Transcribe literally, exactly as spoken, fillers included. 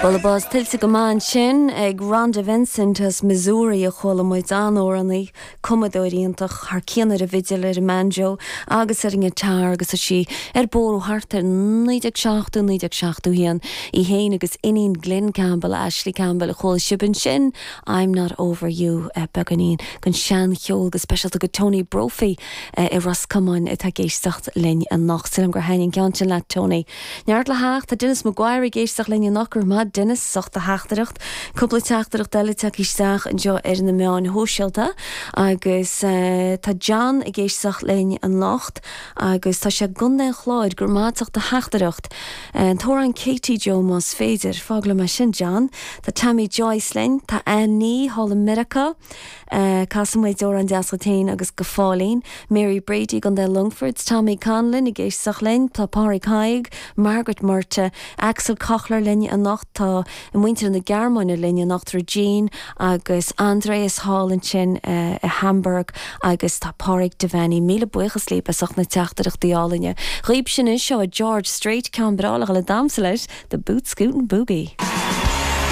Bualadh bos tuillte go maith ansin ag Rhonda Vincent as Missouri a chuala muid an-amhránaí cumadóir iontach thar cionn ar an bhfidil ar an mbanjo agus ar an ngiotár agus tá sí ar bóró thart ar naoi déag seachtó naoi déag seachtó haon í féin agus iníon Glen Campbell Ashley Campbell a chuala sibh ansin I'm not over you beagáinín den seancheol go speisialta go Tony Brophy i Ros Comáin atá ag éisteacht linn anocht sílim gur thaitin an ceann sin leat Tony. Neart le theacht tá Dennis Maguire ag éisteacht linn anocht go raibh maith Dennis as ucht do theachtaireacht, cúpla teachtaireacht eile tagtha isteach anseo ar na meáin shóisialta agus uh, tá John ag éisteacht linn anocht agus tá sé i gContae an Chláir go raibh maith as ucht do theachtaireacht. An t-amhrán Katie Joe más féidir fág le mar sin John, Tá Tammy Joyce linn, tá Anní thall i Meiriceá, Uh, Casfaidh muid amhrán deas féin agus go fáilín, Mary Brady i gContae Longfort, Tommy Conlon ag éisteacht linn, tá Pádraig Haig, Margaret Murta, Axel Kochler linn anocht tá muintir na Gearmáine linn anocht Jean agus Andreas Hall ansin uh, i Hamburg agus tá Pádraig Devaney míle buíochas libh as ucht na teachtaireachtaí álainne. Dhaoibh sin seo a George Strait ceann breá le damhsa leis the Boot Scootin' Boogie.